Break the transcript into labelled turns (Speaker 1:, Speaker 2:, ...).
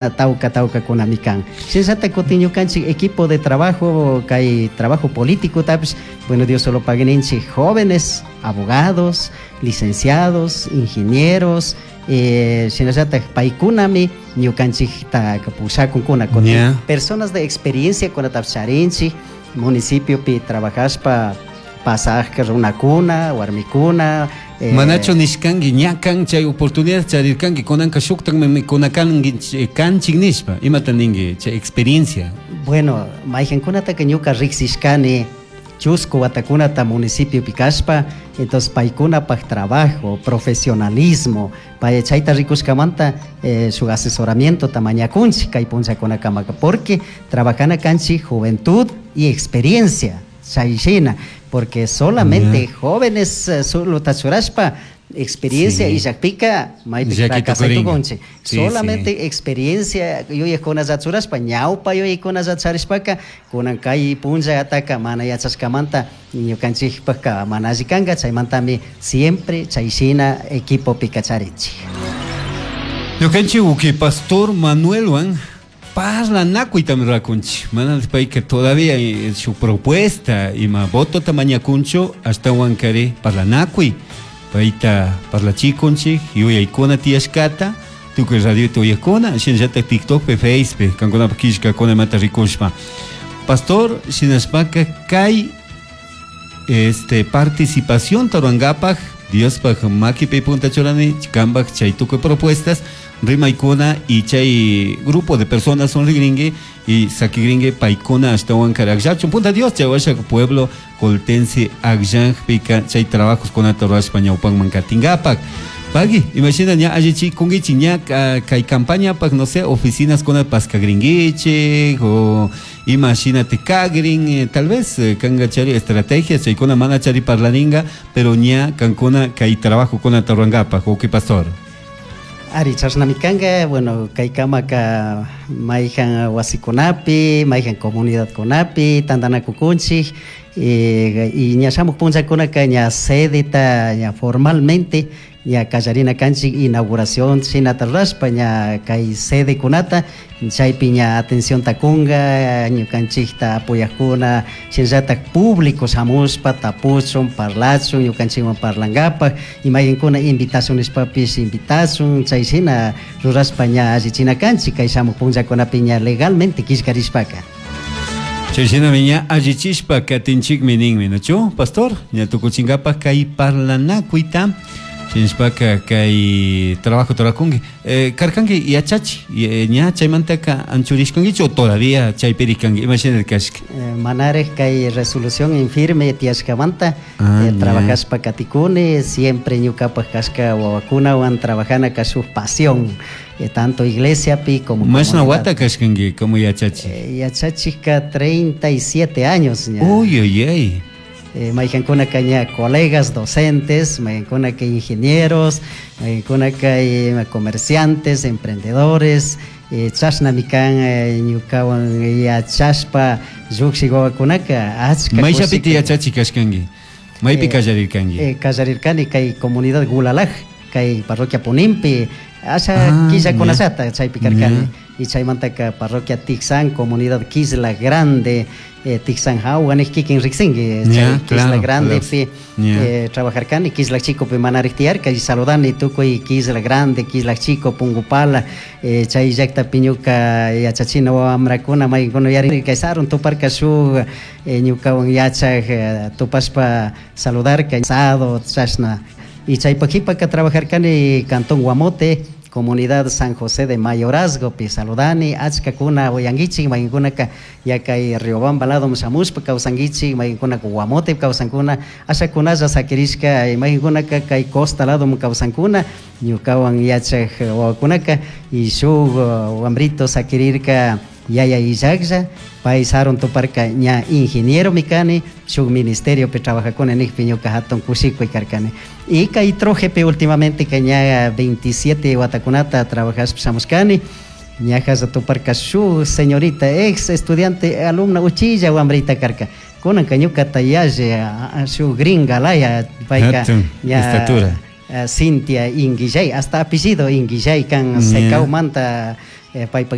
Speaker 1: Tauca taucacunami can. Shinallata cutin ñucanchik equipo de trabajo, kay trabajo políticotapish, bueno, Dios solo pague ninchik jóvenes, abogados, licenciados, ingenieros, shinallatak paykunami ñucanchikta pushakunkuna, cutin personas de experiencia kunatapish charinchik, municipiopi trabajashpa pasajka runakuna, warmikuna.
Speaker 2: Manachu nishkanki ña kan chay oportunidad charirkanki kunanka shuktakmi mikuna kanki kanchik nishpa imata ninki chay experiencia?
Speaker 1: Bueno, mayqankunataka ñuka riksishkani chusku watakunata municipiopi kashpa, entonces paykunapaj trabajo, profesionalismo, pay chayta rikushkamanta shuk asesoramientota mañakunchik kay punllakunakamaka, porque trabajana kanchik juventud y experiencia. Chay shina, porque solamente jóvenes solo churashpa experiencia illakpika maypi fracasay tukunchik. Solamente experiencia yuyajkunalla churashpa, ñawpa yuyajkunalla charishpaka kunan kay punllataka mana yachashkamanta ñukanchikpaka mana alli kanka, chaymantami siempre chay shina equipopika charinchik.
Speaker 2: Ñukanchik uki pastor Manuelwan parlanakuytami rurakunchik, mana payka todavía shuk propuesta ima votota mañakunchu, ashtawankari parlanakuy payta parlachikunchik yuyaykuna tiyashkata tukuy radiota uyakuna shinallatak TikTokpi Facepi kankunapak killkakuna imata rikushpa. Pastor, shinashpaka kay este participación rurankapak Diospaj makipi punta churani kanpak chay tukuy propuestas rimaykuna y chay grupo de personas son rigringue y sakigringue paykuna ashtawan akllachun punta Dios chay washa pueblo coltense akllanpika chay trabajos kunata rurashpa ñawpanman katinkapak. Pagui, imagina ña allichikunkichik ña kay campañapak no sé oficinas kuna paskagrinkichik o imagínate kagrin, tal vez kanga chari estrategias chaykuna mana chari parlaringa, pero ña kankuna kay trabajo kunata rurankapak, uki pastor.
Speaker 1: Ari, chashnami kanga, bueno, kay kamaka mayjan wasikunapi, mayjan comunidadkunapi tantanakukunchik, y ña shamuj punllakunaka ña sedeta ña formalmente ña kallarina kanchik inauguración shinata rurashpa ña kay sedekunata chaypi ña atencionta kunga ñukanchikta apoyajkuna shinallatak público shamushpa tapuchun parlachun ñukanchikwan parlankapak y mayqankuna invitación nishpapish invitashun chay shina rurashpa ña allichina kanchik kay shamuj punllakunapi ña legalmente killkarishpaka.
Speaker 2: Chay shinami ña allichishpa katinchikmi ninmi, ¿no? Pastor, ña tukuchinkapak kay parlanakuyta shinashpaka kay trabajo turakunki. Karkanki yachachi, ña chaymantaka anchurishkankichu o todavía chaypiri kanki, ima shina kashka?
Speaker 1: Manarek kay resolución en firme tiyashkamanta, trabajashpa katikuni, siempre ñukapak kashka wawakunawan trabajana ka shuk pasión, tanto iglesiapi como
Speaker 2: Mashna wata kashkanki como yachachi?
Speaker 1: Yachachika 37 años ña.
Speaker 2: Uy, uy, uy.
Speaker 1: Mayqankunaka ña colegas docentes, mayqankunaka ingenieros, mayqankunaka comerciantes, emprendedores, chashnami kan ñukawan yachashpa llukshiq wawakunaka achka
Speaker 2: Mayllapiti yachachi kashkanki? Maypi kallarirkanki?
Speaker 1: Kallarirkani kay comunidad Gulalaj, kay parroquia Punimpi, asha killakunallata chaypi karkani. Y chaymantaka parroquia Tixán, comunidad Quisla Grande, Tixán hawa nik kikin riksinki, chay Quisla Grandepi, trabajarkani, Quisla Chicopi manarik tiyarka, y saludani tukuy Quisla Grande, Quisla Chico, Pungupala, chay llaktapi ñuka yachachina wamrakuna mayqankuna yari kay sarun tuparka shuk ñukawan yachaj tupashpa saludarka, sado, chashna. Y chaypa qhipaka trabajarkani Cantón Guamote, comunidad San José de Mayorazgo, pi saludani, achkakuna uyankichik, mayqankunaka ya kay Riobamba lado shamushpa kawsankichik, mayqankunaka Guamote kawsankuna, ashakunalla sakirishka, mayqankunaka kay costa lado kawsankuna, ñukawan yachaj wawakunaka, y shuk wambrito sakirirka yaya illaklla, pay sarun tuparka ña ingeniero mi kani, shuk ministeriopi trabajakuna nikpi ñuka hatun kushikuy karkani. Y kay Trojepi últimamente que ña 27 watakunata trabajashpa shamushkani, ñaja tuparka shuk señorita ex estudiante alumna uchilla wambrita karka. Kunanka ñukata yalli shuk gringa laya payka ña
Speaker 2: estatura.
Speaker 1: Cintia Inguillay, hasta apellido Inguillay kan Secaumanta. Paypak.